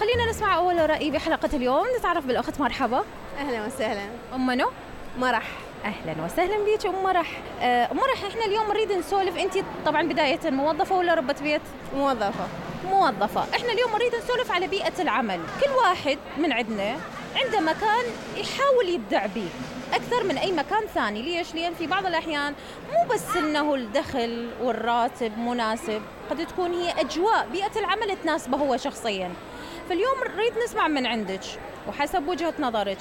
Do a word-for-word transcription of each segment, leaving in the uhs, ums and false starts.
خلينا نسمع أول رأي بحلقة اليوم. نتعرف بالأخت. مرحبا. أهلا وسهلا. أم منو؟ مرح. أهلا وسهلا بيك أم مرح. أم مرح، إحنا اليوم نريد نسولف. أنت طبعا بداية موظفة ولا ربة بيت؟ موظفة. موظفة. إحنا اليوم نريد نسولف على بيئة العمل. كل واحد من عندنا عنده مكان يحاول يبدع به أكثر من أي مكان ثاني. ليش؟ لأن في بعض الأحيان مو بس إنه الدخل والراتب مناسب، قد تكون هي أجواء بيئة العمل تناسبه هو شخصيا. فاليوم نريد نسمع من عندك وحسب وجهة نظرك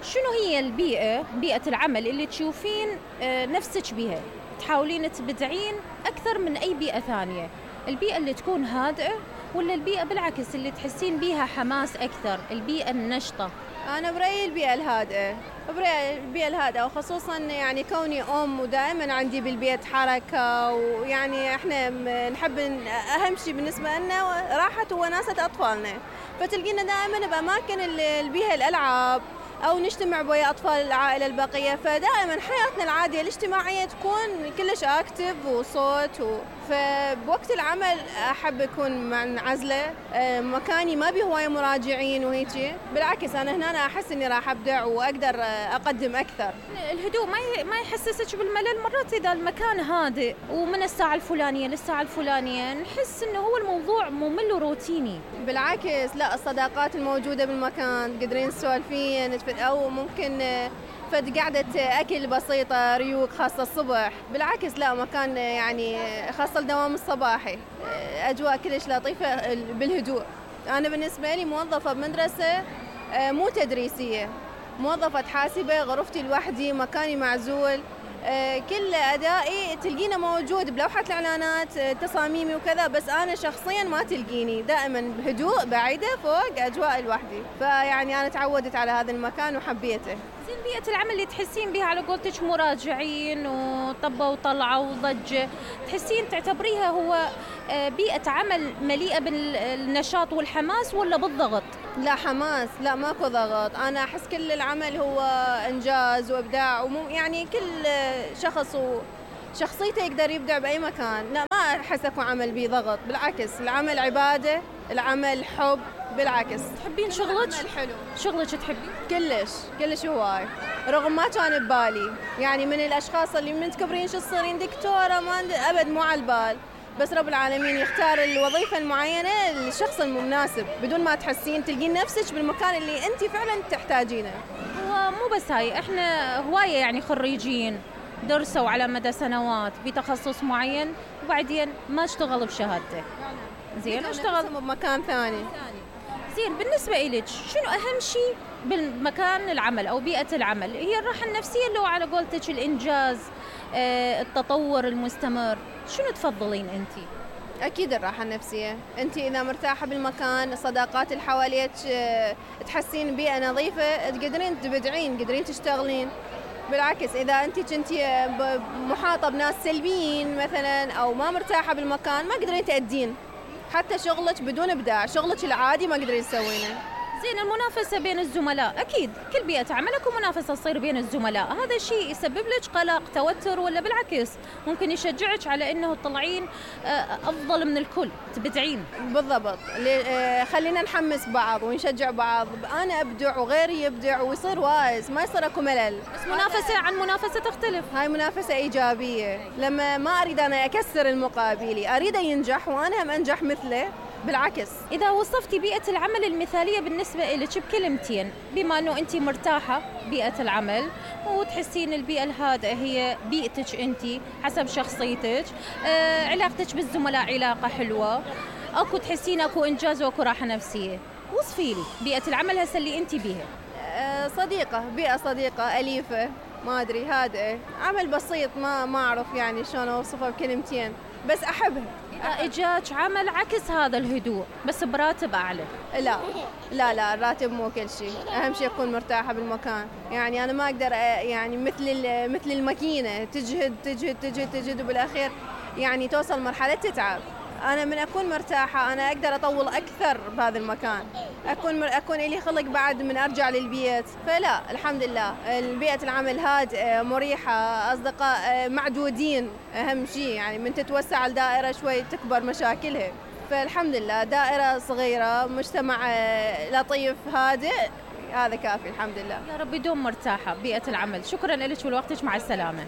شنو هي البيئة بيئة العمل اللي تشوفين نفسك بها تحاولين تبدعين أكثر من أي بيئة ثانية. البيئة اللي تكون هادئة ولا البيئة بالعكس اللي تحسين بيها حماس أكثر، البيئة النشطة؟ أنا برأيي البيئة الهادئة، برأيي البيئة الهادئة، وخصوصا يعني كوني أم ودائما عندي بالبيت حركة، ويعني إحنا نحب أهم شيء بالنسبة لنا راحة ووناسة أطفالنا، فتلقينا دائما بأماكن البيئة الألعاب أو نجتمع ويا أطفال العائلة البقية. فدائما حياتنا العادية الاجتماعية تكون كلش أكتف وصوت و... فبوقت العمل أحب أكون منعزلة، مكاني ما بيه هواية مراجعين وهيك. بالعكس أنا هنا أحس إني راح أبدع وأقدر أقدم أكثر. الهدوء ما ما يحسسك بالملل مرات إذا المكان هادئ ومن الساعة الفلانية للساعة الفلانية نحس إنه هو الموضوع ممل وروتيني؟ بالعكس لا، الصداقات الموجودة بالمكان قادرين نسولفين أو ممكن فد قعدة أكل بسيطة ريوق خاصة الصبح. بالعكس لا، مكان يعني خاصة الدوام الصباحي أجواء كلش لطيفة بالهدوء. أنا بالنسبة لي موظفة بمدرسة مو تدريسية، موظفة حاسبة، غرفتي لوحدي، مكاني معزول، كل أدائي تلقينا موجود بلوحة الإعلانات تصاميمي وكذا، بس أنا شخصيا ما تلقيني، دائما بهدوء بعيدة فوق أجواء لوحدي. فيعني أنا تعودت على هذا المكان وحبيته. زين، بيئة العمل اللي تحسين بها على قولتك مراجعين وطبة وطلعة وضجة، تحسين تعتبريها هو بيئة عمل مليئة بالنشاط والحماس ولا بالضغط؟ لا حماس، لا ماكو ضغط. أنا أحس كل العمل هو إنجاز وإبداع، ومو يعني كل شخص وشخصيته يقدر يبدع بأي مكان. لا ما أحس أكو عمل بيه ضغط، بالعكس العمل عبادة، العمل حب. بالعكس تحبين شغلك؟ حلو. شغلك تحبين؟ كلش كلش هواي، رغم ما كان ببالي. يعني من الأشخاص اللي من تكبرين شو تصيرين دكتورة، ما أبد مو على البال، بس رب العالمين يختار الوظيفة المعينة للشخص المناسب بدون ما تحسين تلقين نفسك بالمكان اللي أنت فعلا تحتاجينه. هو مو بس هاي، احنا هواية يعني خريجين درسوا على مدى سنوات بتخصص معين وبعدين ما اشتغل بشهادته. زين، اشتغل بمكان ثاني. زين، بالنسبة إليك شنو أهم شيء بالمكان العمل أو بيئة العمل؟ هي الراحة النفسية اللي هو على قولتك الإنجاز، آه، التطور المستمر؟ شنو تفضلين أنتي؟ أكيد الراحة النفسية. أنت إذا مرتاحة بالمكان، الصداقات اللي حواليك، تحسين بيئة نظيفة، تقدرين تبدعين، تقدرين تشتغلين. بالعكس إذا أنت كنتي محاطة بناس سلبيين مثلا أو ما مرتاحة بالمكان ما قدرين تأدين حتى شغلك بدون إبداع، شغلك العادي ما قدرين تسوينه. زين، المنافسة بين الزملاء، أكيد كل بيئة عملك ومنافسة تصير بين الزملاء، هذا الشيء يسبب لك قلق، توتر، ولا بالعكس ممكن يشجعك على أنه تطلعين أفضل من الكل، تبدعين؟ بالضبط، خلينا نحمس بعض ونشجع بعض، أنا أبدع وغيري يبدع ويصير وايز، ما يصير أكو ملل. بس منافسة عن منافسة تختلف. هاي منافسة إيجابية، لما ما أريد أنا أكسر المقابلي، أريد ينجح وأنا هم أنجح مثله. بالعكس، إذا وصفتي بيئة العمل المثالية بالنسبة لك بكلمتين، بما أنه أنت مرتاحة بيئة العمل وتحسين البيئة الهادئة هي بيئتك أنت حسب شخصيتك، آه، علاقتك بالزملاء علاقة حلوة، أكو تحسين أكو إنجاز وأكو راحة نفسية، وصفي لي بيئة العمل هسه اللي أنت بيها. آه، صديقة، بيئة صديقة أليفة، ما أدري، هادئة، عمل بسيط، ما ما أعرف يعني شلون أوصفه بكلمتين، بس أحبها. إذا إجاك عمل عكس هذا الهدوء بس براتب أعلى؟ لا لا لا، الراتب مو كل شيء، أهم شيء أكون مرتاحة بالمكان. يعني أنا ما أقدر يعني مثل مثل الماكينة تجهد تجهد تجهد تجهد وبالأخير يعني توصل مرحلة تتعب. أنا من أكون مرتاحة أنا أقدر أطول أكثر بهذا المكان، أكون مر... أكون إلي خلق بعد من أرجع للبيت. فلا الحمد لله البيئة العمل هادئة مريحة، أصدقاء معدودين أهم شيء، يعني من تتوسع الدائرة شوي تكبر مشاكلها. فالحمد لله دائرة صغيرة، مجتمع لطيف هادئ، هذا كافي الحمد لله. يا رب يدوم مرتاحة بيئة العمل. شكرا لك ولوقتك، مع السلامة.